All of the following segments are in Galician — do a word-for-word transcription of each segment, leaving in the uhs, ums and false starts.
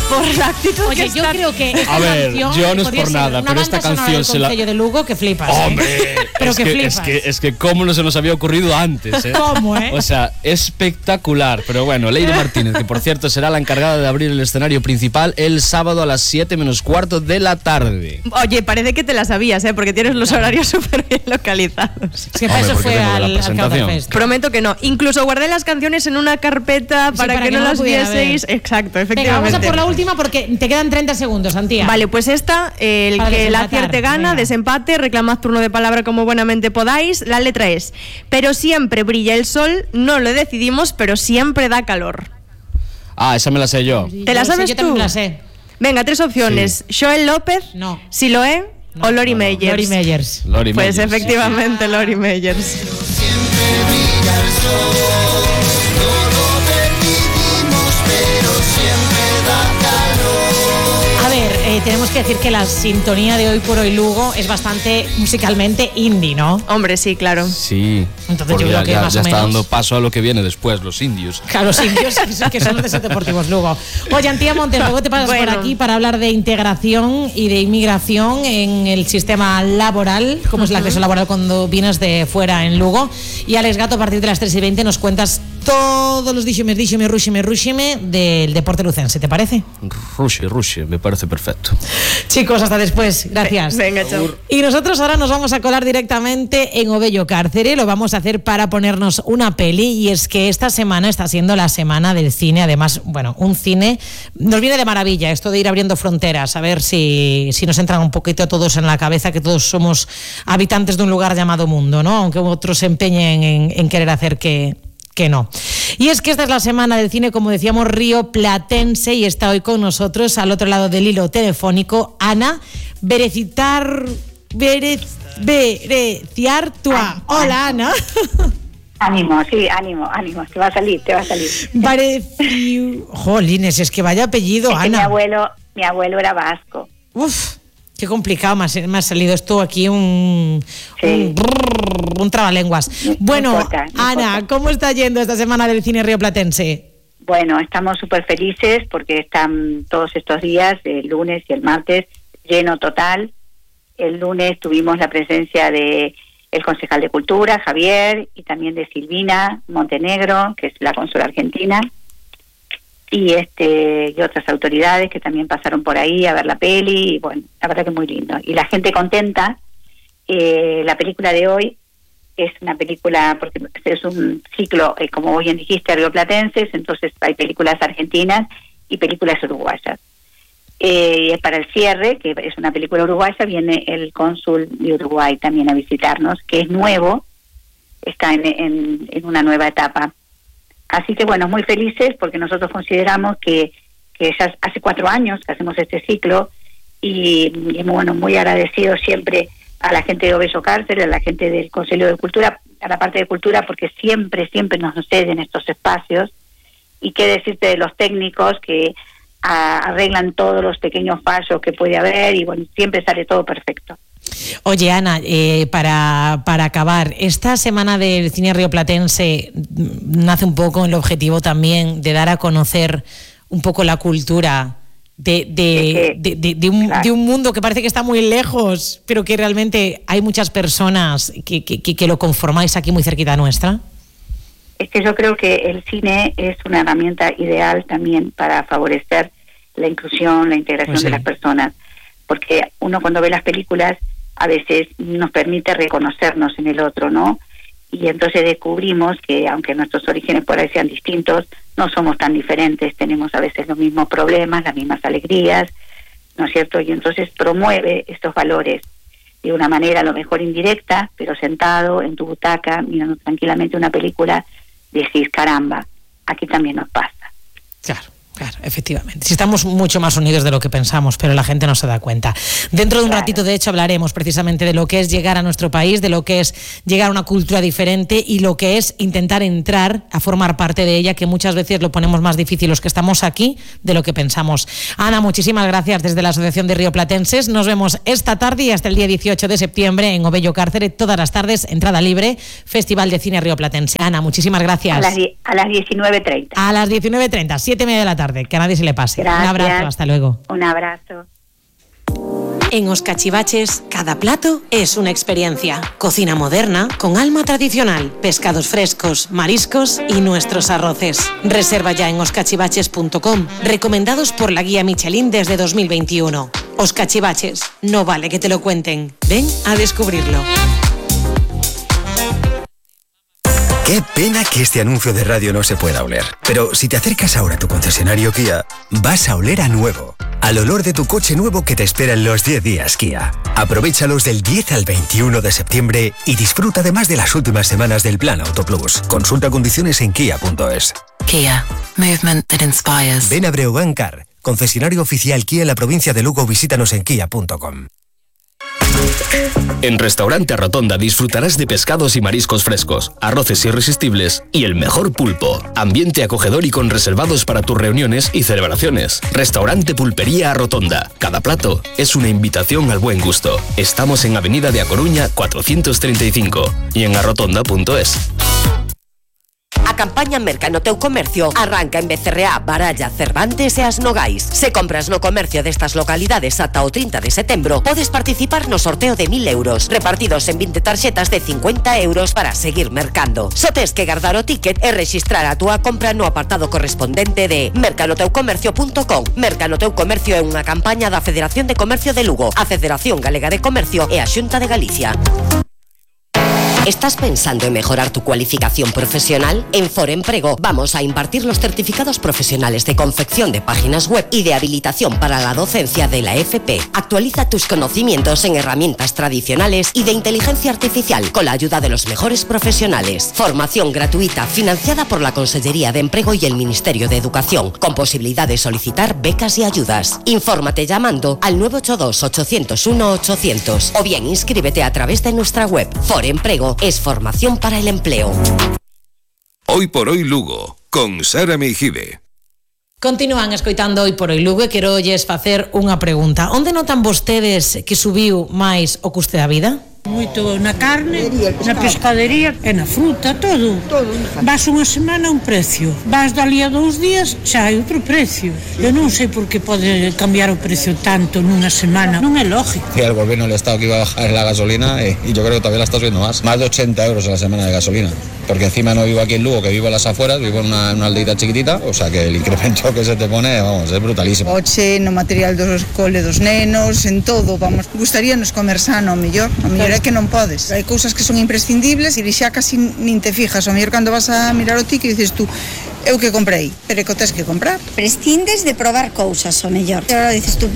por la actitud. Oye, que yo está... creo que esta A ver, canción yo no es podría por ser nada, una pero esta banda sonora canción del se la... Concello de Lugo que flipas. Hombre, ¿eh? Pero es que, que, flipas. es que es que cómo no se nos había ocurrido antes, ¿eh? ¿Cómo, eh? O sea, espectacular. Pero bueno, Lady Martínez, que por cierto será la encargada de abrir el escenario principal el sábado a las siete menos cuarto de la tarde. Oye, parece que te la sabías, ¿eh? Porque tienes los horarios súper bien localizados. Es que para Hombre, eso porque fue tengo la al, al presentación. Counterfest. Prometo que no. Incluso guardé las canciones en una carpeta Sí, para, para que, que no no las pudiera vieseis. ver. Exacto, Venga, efectivamente. vamos a por la última porque te quedan treinta segundos, Antía. Vale, pues esta, eh, el Para que la desempatar, acierte gana, venga. desempate, reclamad turno de palabra como buenamente podáis. La letra es: pero siempre brilla el sol, no lo decidimos, pero siempre da calor. Ah, esa me la sé yo. ¿Te la Yo sé, sabes yo tú? también la sé. Venga, tres opciones: Joel López, No. Siloé o Lori no, no. Meyers. Lori Meyers. Lori Pues Meyers. efectivamente, Lori Meyers. Siempre brilla el sol, no lo decidimos, pero siempre da calor. A ver, eh, tenemos que decir que la sintonía de Hoy por Hoy Lugo es bastante musicalmente indie, ¿no? Hombre, sí, claro. Sí. Entonces porque yo creo ya, que ya- más ya o está menos- dando paso a lo que viene después, los indios. Claro, los indios, que son- que son los de Set Deportivos Lugo. Oye, Antía Montes, luego te pasas Bueno. por aquí para hablar de integración y de inmigración en el sistema laboral, cómo es el acceso laboral cuando vienes de fuera en Lugo. Y Alex Gato, a partir de las tres y veinte, nos cuentas todos los díxemes, díxeme, rúxeme, rúxeme del deporte lucense, ¿te parece? Rushi, Rushi, me parece perfecto. Chicos, hasta después. Gracias. Venga, chao. Y nosotros ahora nos vamos a colar directamente en Ovello Cárcere. Lo vamos a hacer para ponernos una peli. Y es que esta semana está siendo la semana del cine. Además, bueno, un cine nos viene de maravilla esto de ir abriendo fronteras. A ver si, si nos entran un poquito todos en la cabeza que todos somos habitantes de un lugar llamado mundo, ¿no? Aunque otros se empeñen en, en querer hacer que... que no. Y es que esta es la semana del cine, como decíamos, rioplatense, y está hoy con nosotros, al otro lado del hilo telefónico, Ana Berecitar... Berez, Bereciartua. Hola, Ana. Ánimo, sí, ánimo, ánimo, te va a salir, te va a salir. Bereci... Jolines, es que vaya apellido, Es que mi Ana. abuelo, mi abuelo era vasco. Uf, qué complicado me ha, me ha salido esto aquí, un... Sí. Un, brrr, un trabalenguas. No Bueno, importa, no Ana, importa. ¿cómo está yendo esta semana del cine rioplatense? Bueno, estamos súper felices porque están todos estos días, el lunes y el martes, lleno total. El lunes tuvimos la presencia de el concejal de Cultura, Javier, y también de Silvina Montenegro, que es la cónsula argentina, y este y otras autoridades que también pasaron por ahí a ver la peli, y bueno, la verdad que muy lindo. Y la gente contenta. Eh, la película de hoy es una película, porque es un ciclo, eh, como bien dijiste, rioplatenses, entonces hay películas argentinas y películas uruguayas. Eh, para el cierre, que es una película uruguaya, viene el cónsul de Uruguay también a visitarnos, que es nuevo, está en, en, en una nueva etapa. Así que bueno, muy felices porque nosotros consideramos que, que ya hace cuatro años que hacemos este ciclo y, y bueno, muy agradecidos siempre a la gente de Ovello Cárcere, a la gente del Consejo de Cultura, a la parte de Cultura, porque siempre, siempre nos ceden estos espacios. Y qué decirte de los técnicos que a, arreglan todos los pequeños fallos que puede haber y bueno, siempre sale todo perfecto. Oye, Ana, eh, para, para acabar, esta semana del cine rioplatense nace un poco el objetivo también de dar a conocer un poco la cultura de, de, de, de, de, un, claro. de un mundo que parece que está muy lejos, pero que realmente hay muchas personas que, que, que lo conformáis aquí muy cerquita nuestra. Es que yo creo que el cine es una herramienta ideal también para favorecer la inclusión, la integración Pues sí. de las personas, porque uno cuando ve las películas a veces nos permite reconocernos en el otro, ¿no? Y entonces descubrimos que aunque nuestros orígenes por ahí sean distintos, no somos tan diferentes, tenemos a veces los mismos problemas, las mismas alegrías, ¿no es cierto? Y entonces promueve estos valores de una manera a lo mejor indirecta, pero sentado en tu butaca, mirando tranquilamente una película, decís, caramba, aquí también nos pasa. Claro. Claro, efectivamente. Si estamos mucho más unidos de lo que pensamos, pero la gente no se da cuenta. Dentro de un Claro. ratito, de hecho, hablaremos precisamente de lo que es llegar a nuestro país, de lo que es llegar a una cultura diferente y lo que es intentar entrar a formar parte de ella, que muchas veces lo ponemos más difícil los que estamos aquí de lo que pensamos. Ana, muchísimas gracias desde la Asociación de Rioplatenses. Nos vemos esta tarde y hasta el día dieciocho de septiembre en Ovello Cárcere, todas las tardes, entrada libre, Festival de Cine Rioplatense. Ana, muchísimas gracias. A las, die- a las diecinueve treinta. A las diecinueve treinta, siete y media de la tarde. tarde. Que a nadie se le pase. Gracias. Un abrazo, hasta luego. Un abrazo. En Os Cachivaches, cada plato es una experiencia. Cocina moderna con alma tradicional, pescados frescos, mariscos y nuestros arroces. Reserva ya en os cachivaches punto com, recomendados por la guía Michelin desde dos mil veintiuno. Os Cachivaches, no vale que te lo cuenten. Ven a descubrirlo. Qué pena que este anuncio de radio no se pueda oler. Pero si te acercas ahora a tu concesionario Kia, vas a oler a nuevo. Al olor de tu coche nuevo que te espera en los diez días Kia. Aprovéchalos del diez al veintiuno de septiembre y disfruta además de las últimas semanas del Plan Auto Plus. Consulta condiciones en kia punto es. Kia. Movement that inspires. Ven a Breogán Car, concesionario oficial Kia en la provincia de Lugo. Visítanos en kia punto com. En Restaurante Rotonda disfrutarás de pescados y mariscos frescos, arroces irresistibles y el mejor pulpo. Ambiente acogedor y con reservados para tus reuniones y celebraciones. Restaurante Pulpería Rotonda. Cada plato es una invitación al buen gusto. Estamos en Avenida de A Coruña cuatrocientos treinta y cinco y en arrotonda punto es. A campaña Merca no teu comercio arranca en Becerreá, Baralla, Cervantes e As Nogais. Se compras no comercio destas localidades ata o trinta de setembro, podes participar no sorteo de mil euros, repartidos en vinte tarxetas de cincuenta euros para seguir mercando. Só tes que guardar o ticket e rexistrar a túa compra no apartado correspondente de merca no teu comercio punto com. Merca no teu comercio é unha campaña da Federación de Comercio de Lugo, a Federación Galega de Comercio e a Xunta de Galicia. ¿Estás pensando en mejorar tu cualificación profesional? En Foremprego vamos a impartir los certificados profesionales de confección de páginas web y de habilitación para la docencia de la F P. Actualiza tus conocimientos en herramientas tradicionales y de inteligencia artificial con la ayuda de los mejores profesionales. Formación gratuita financiada por la Consellería de Empleo y el Ministerio de Educación, con posibilidad de solicitar becas y ayudas. Infórmate llamando al nueve ocho dos, ocho cero uno, ochocientos o bien inscríbete a través de nuestra web. Foremprego es formación para el empleo. Hoy por hoy Lugo, con Sara Meijide. Continúan escoitando Hoy por Hoy Lugo e quero lles facer unha pregunta. Onde notan vostedes que subiu máis o custe da vida? Moito na carne, na pescadería e na fruta, todo. Vas unha semana un precio, vas dali a dous días xa hai outro precio. Eu non sei por que pode cambiar o precio tanto nunha semana, non é lógico. El gobierno del Estado que iba a bajar la gasolina eh, y yo creo que todavía la está subiendo más, más de ochenta euros a la semana de gasolina. Porque encima no vivo aquí en Lugo, que vivo en las afueras, vivo en una, una aldeita chiquitita, o sea que el incremento que se te pone, vamos, es brutalísimo. Oche, no material dos cole dos nenos, en todo, vamos, gustaríanos comer sano, o mellor, o mellor é que non podes. Hai cousas que son imprescindibles e xa casi nin te fijas, o mellor cando vas a mirar o ticket dices tú, eu que comprei, pero é que o tes que comprar. Prescindes de probar cousas, o mellor. E agora dices tú,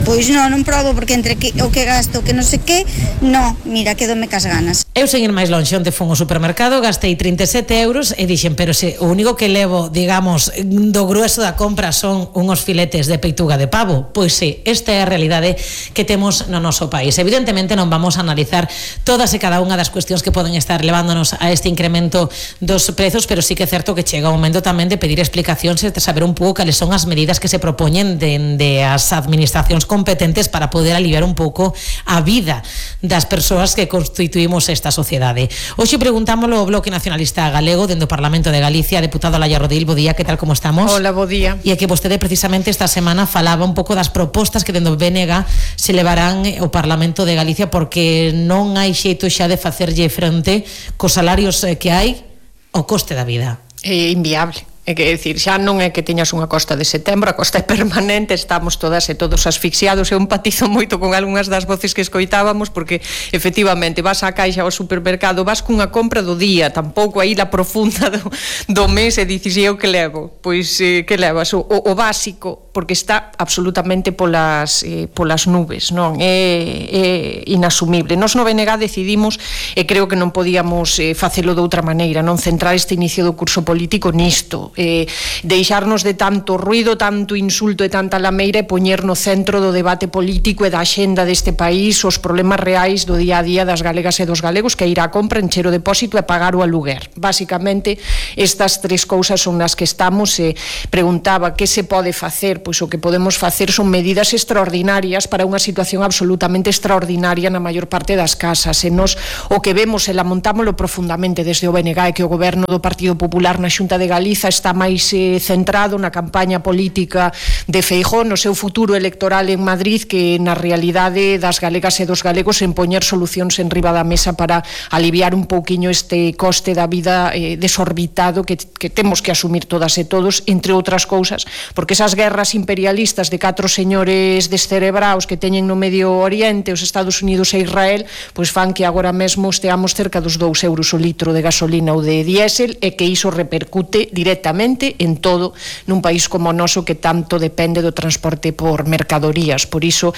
pois non, non probo porque entre que, o que gasto, que non sei que, no, mira, quedome cas ganas. Eu sen ir máis lonxe, onde fun ao supermercado, gastei trinta e sete euros e dixen, pero se o único que levo, digamos, do grueso da compra son unhos filetes de peituga de pavo, pois sí, esta é a realidade que temos no noso país. Evidentemente non vamos a analizar todas e cada unha das cuestións que poden estar levándonos a este incremento dos prezos, pero sí que é certo que chega o momento tamén de pedir explicacións e de saber un pouco cales son as medidas que se propoñen dende as administracións competentes para poder aliviar un pouco a vida das persoas que constituímos esta sociedade. Hoxe preguntámoslo ao Bloque Nacionalista Galego dende o Parlamento de Galicia, deputado Laia Rodil, bo día, que tal, como estamos? Hola, bo día. E é que vostede precisamente esta semana falaba un pouco das propostas que dende o B N G se levarán ao Parlamento de Galicia porque non hai xeito xa de facerlle frente cos salarios que hai ao coste da vida. É inviable. É que decir, xa non é que teñas unha costa de setembro, a costa é permanente, estamos todas e todos asfixiados. Eu empatizo moito con algunhas das voces que escoitábamos porque efectivamente vas á caixa ao supermercado, vas cunha compra do día, tampouco aí la profunda do, do mes e dices, eu que levo? Pois eh, que levas? O, o, o básico, porque está absolutamente polas, eh, polas nubes, non? É, é inasumible. Nos no B N G decidimos, e creo que non podíamos eh, facelo de outra maneira, non centrar este inicio do curso político nisto, eh, deixarnos de tanto ruido, tanto insulto e tanta lameira e poñer no centro do debate político e da axenda deste país os problemas reais do día a día das galegas e dos galegos, que é ir á compra, encher o depósito e pagar o aluguer. Básicamente, estas tres cousas son nas que estamos. E preguntaba que se pode facer. Pois o que podemos facer son medidas extraordinarias para unha situación absolutamente extraordinaria na maior parte das casas. E nos o que vemos e lamontámoslo profundamente desde o B N G é que o goberno do Partido Popular na Xunta de Galiza está está máis eh, centrado na campaña política de Feijóo, no seu futuro electoral en Madrid, que na realidade das galegas e dos galegos en poñer solucións en riba da mesa para aliviar un pouquiño este coste da vida eh, desorbitado que, que temos que asumir todas e todos, entre outras cousas, porque esas guerras imperialistas de catro señores descerebraos que teñen no Medio Oriente, os Estados Unidos e Israel, pois fan que agora mesmo esteamos cerca dos dous euros o litro de gasolina ou de diésel, e que iso repercute directamente en todo nun país como o noso que tanto depende do transporte por mercadorías. Por iso,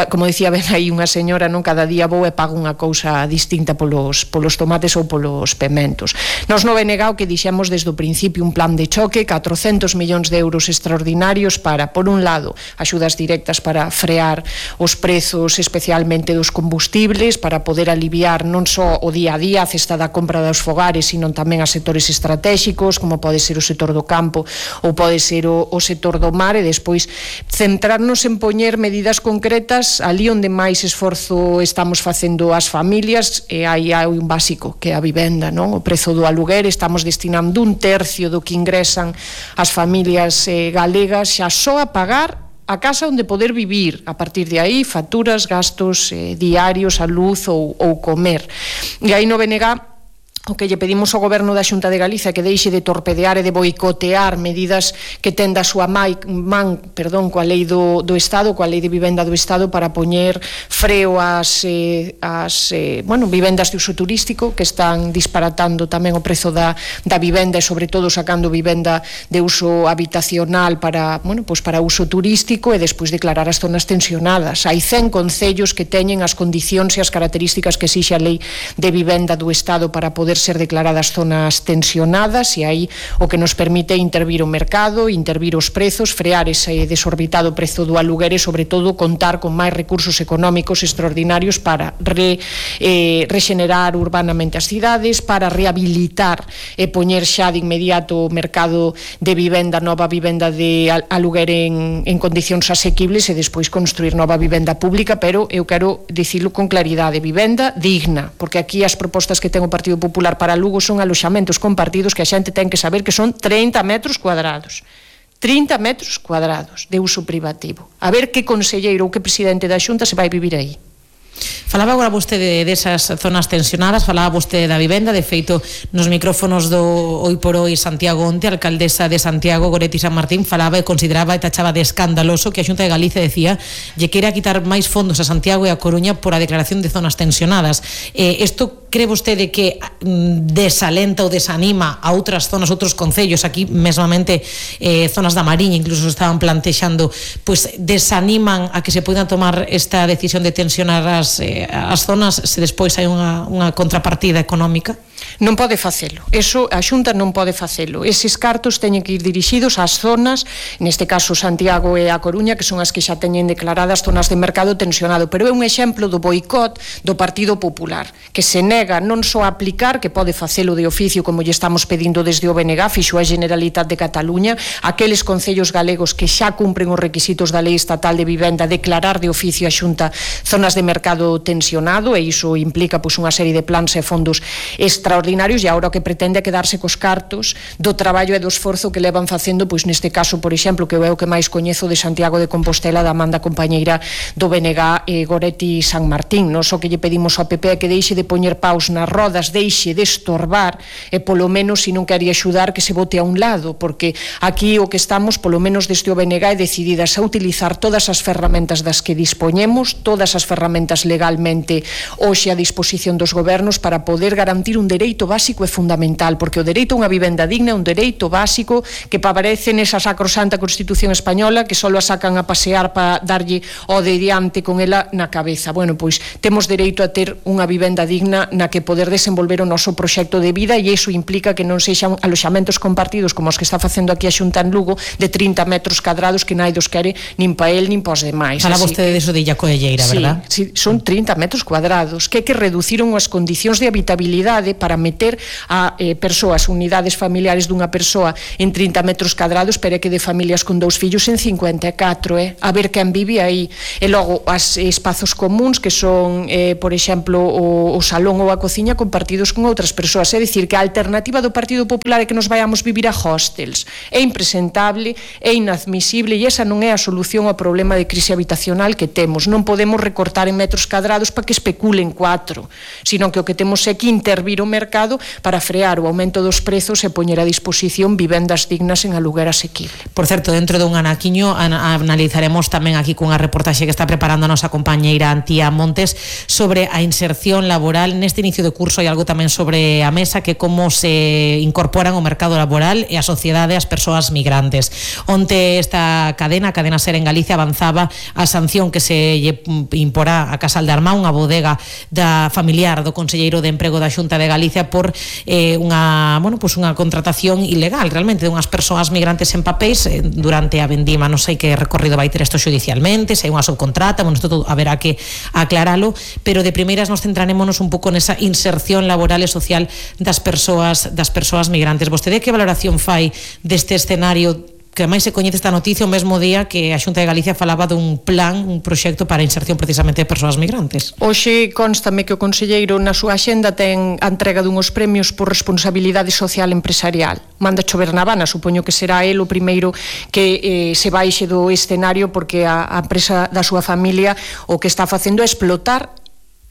como dicía ben aí unha señora, non, cada día vou e pago unha cousa distinta polos, polos tomates ou polos pementos. Nos no B N G o que dixemos desde o principio un plan de choque, catrocentos millóns de euros extraordinarios para, por un lado, axudas directas para frear os prezos especialmente dos combustibles, para poder aliviar non só o día a día, a cesta da compra dos fogares, sino tamén a sectores estratégicos, como pode ser o sector do campo ou pode ser o, o sector do mar, e despois centrarnos en poñer medidas concretas ali onde máis esforzo estamos facendo as familias, e aí hai un básico que é a vivenda, non? O prezo do aluguer, estamos destinando un tercio do que ingresan as familias eh, galegas xa só a pagar a casa onde poder vivir. A partir de aí, facturas, gastos eh, diarios, a luz ou, ou comer. E aí no B N G o que lle pedimos ao Goberno da Xunta de Galicia que deixe de torpedear e de boicotear medidas que ten da súa man, perdón, coa lei do, do Estado, coa lei de vivenda do Estado, para poñer freo ás, eh, ás eh, bueno, vivendas de uso turístico que están disparatando tamén o prezo da, da vivenda, e sobre todo sacando vivenda de uso habitacional para, bueno, pues para uso turístico, e despois declarar as zonas tensionadas. Hai cen concellos que teñen as condicións e as características que exixe a lei de vivenda do Estado para poder ser declaradas zonas tensionadas, e aí o que nos permite intervir o mercado, intervir os prezos, frear ese desorbitado prezo do aluguer e, sobre todo, contar con máis recursos económicos extraordinarios para re, eh, rexenerar urbanamente as cidades, para rehabilitar e poñer xa de inmediato o mercado de vivenda, nova vivenda de aluguer en, en condicións asequibles, e despois construir nova vivenda pública, pero eu quero dicilo con claridade, vivenda digna, porque aquí as propostas que ten o Partido Popular para Lugo son aloxamentos compartidos que a xente ten que saber que son trinta metros cuadrados. trinta metros cuadrados de uso privativo. A ver que conselleiro ou que presidente da Xunta se vai vivir aí. Falaba agora vostede desas zonas tensionadas, falaba vostede da vivenda, de feito nos micrófonos do Hoy por Hoy Santiago Onte, a alcaldesa de Santiago, Goretti San Martín, falaba e consideraba e tachaba de escandaloso que a Xunta de Galicia decía lle queira quitar máis fondos a Santiago e a Coruña por a declaración de zonas tensionadas. Eh, isto cree vostede que desalenta ou desanima a outras zonas, outros concellos, aquí mesmamente eh, zonas da Mariña incluso estaban plantexando, pues desaniman a que se poidan tomar esta decisión de tensionar as, eh, as zonas se despois hai unha, unha contrapartida económica? Non pode facelo, eso a Xunta non pode facelo. Eses cartos teñen que ir dirixidos ás zonas, neste caso Santiago e a Coruña, que son as que xa teñen declaradas zonas de mercado tensionado, pero é un exemplo do boicot do Partido Popular, que se nega non só a aplicar, que pode facelo de oficio como lle estamos pedindo desde o B N G, fixo a Generalitat de Cataluña, aqueles concellos galegos que xa cumpren os requisitos da Lei Estatal de Vivenda, declarar de oficio a Xunta zonas de mercado tensionado, e iso implica pois unha serie de plans e fondos extraordinarios, e agora o que pretende é quedarse cos cartos do traballo e do esforzo que levan facendo, pois neste caso, por exemplo, que é o que máis coñezo de Santiago de Compostela, da Amanda compañeira do B N G, eh, Goretti San Martín. Nos o que lle pedimos ao P P é que deixe de poñer paus nas rodas, deixe de estorbar, e polo menos, se non quere axudar, que se bote a un lado, porque aquí o que estamos, polo menos desde o B N G, é decididas a utilizar todas as ferramentas das que dispoñemos, todas as ferramentas legalmente hoxe a disposición dos gobernos, para poder garantir un dereito básico e fundamental, porque o dereito a unha vivenda digna é un dereito básico que aparece nesa sacrosanta Constitución española, que só a sacan a pasear para darlle o de diante con ela na cabeza. Bueno, pois temos dereito a ter unha vivenda digna na que poder desenvolver o noso proxecto de vida, e iso implica que non sexan aloxamentos compartidos como os que está facendo aquí a Xunta en Lugo, de trinta metros cadrados, que nai dos quere nin pa el nin pa os demais. Fala vostede de eso de Illa Coelleira, sí, verdad? Sí, son trinta metros cuadrados que é que reduciron as condicións de habitabilidade para para meter a eh, persoas, unidades familiares dunha persoa en trinta metros cadrados, pero é que de familias con dous fillos en cincuenta e catro, eh? A ver quen vive aí. E logo, as espazos comuns, que son, eh, por exemplo, o, o salón ou a cociña compartidos con outras persoas. É dicir, que a alternativa do Partido Popular é que nos vayamos vivir a hostels. É impresentable, é inadmisible, e esa non é a solución ao problema de crise habitacional que temos. Non podemos recortar en metros cadrados para que especulen cuatro, sino que o que temos é que intervir o mercado para frear o aumento dos prezos e poñer a disposición vivendas dignas en aluguer asequible. Por certo, dentro dun anaquiño an analizaremos tamén aquí cunha reportaxe que está preparando a nosa compañeira Antía Montes sobre a inserción laboral. Neste inicio de curso hai algo tamén sobre a mesa, que como se incorporan ao mercado laboral e a sociedade as persoas migrantes. Onte esta cadena, a cadena SER en Galicia, avanzaba a sanción que se lle imporá a Casal de Armá, unha bodega da familiar do conselleiro de Emprego da Xunta de Galicia, por eh, unha, bueno, pues unha contratación ilegal realmente de unhas persoas migrantes en papéis eh, durante a vendima. Non sei que recorrido vai ter isto xudicialmente, se hai unha subcontrata, bueno, isto todo haberá que aclaralo, pero de primeiras nos centrarémonos un pouco nesa inserción laboral e social das persoas das persoas migrantes. Vostede que valoración fai deste escenario, que máis se coñece esta noticia o mesmo día que a Xunta de Galicia falaba dun plan, un proxecto para a inserción precisamente de persoas migrantes? Hoxe constame que o conselleiro na súa axenda ten a entrega dunhos premios por responsabilidade social empresarial. Manda chover na Habana, supoño que será el o primeiro que eh, se baixe do escenario, porque a, a empresa da súa familia o que está facendo é explotar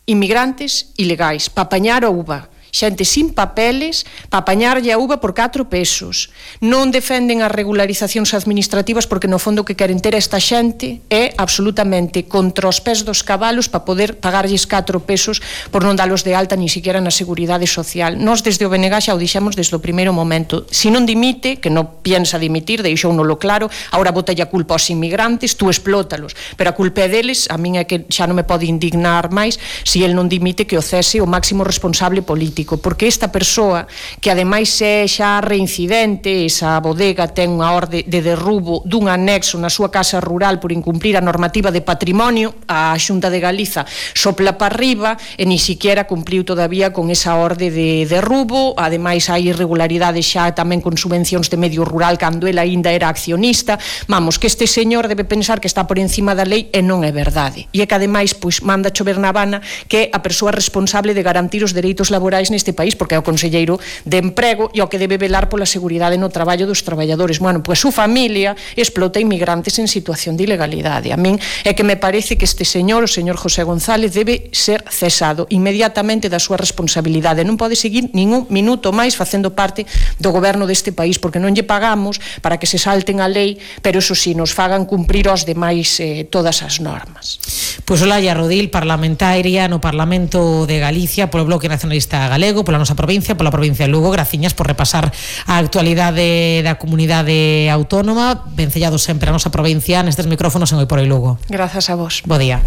inmigrantes ilegais para apañar a uva. Xente sin papeles para apañarlle a uva por catro pesos. Non defenden as regularizacións administrativas, porque no fondo que queren ter esta xente é absolutamente contra os pés dos cabalos para poder pagarlles catro pesos por non dalos de alta ni siquiera na Seguridade Social. Nós desde o B N G xa o dixemos desde o primeiro momento. Si non dimite, que non piensa dimitir, deixóunolo claro, agora botalle a culpa aos inmigrantes, tú explótalos, pero a culpa é deles. A min é que xa non me pode indignar máis si el non dimite, que o cese o máximo responsable político, porque esta persoa, que ademais é xa reincidente, esa bodega ten unha orde de derrubo dun anexo na súa casa rural por incumplir a normativa de patrimonio, a Xunta de Galiza sopla para arriba e ni siquiera cumpliu todavía con esa orde de derrubo. Ademais hai irregularidades xa tamén con subvencións de medio rural cando el aínda era accionista. Vamos, que este señor debe pensar que está por encima da lei, e non é verdade. E é que ademais pois manda chover na Habana, que é a persoa responsable de garantir os dereitos laborais neste país, porque é o conselleiro de Emprego e o que debe velar pola seguridade no traballo dos traballadores. Bueno, pois a súa familia explota inmigrantes en situación de ilegalidade. A min é que me parece que este señor, o señor José González, debe ser cesado inmediatamente da súa responsabilidade. Non pode seguir ningún minuto máis facendo parte do goberno deste país, porque non lle pagamos para que se salten a lei, pero eso sí, nos fagan cumprir aos demais eh, todas as normas. Pois Olalla Rodil, parlamentaria no Parlamento de Galicia polo Bloque Nacionalista Galego, pola nosa provincia, pola provincia de Lugo. Graciñas por repasar a actualidade da comunidade autónoma. Vencellado sempre a nosa provincia nestes micrófonos en Hoy por Hoy Lugo. Grazas a vos. Bo día.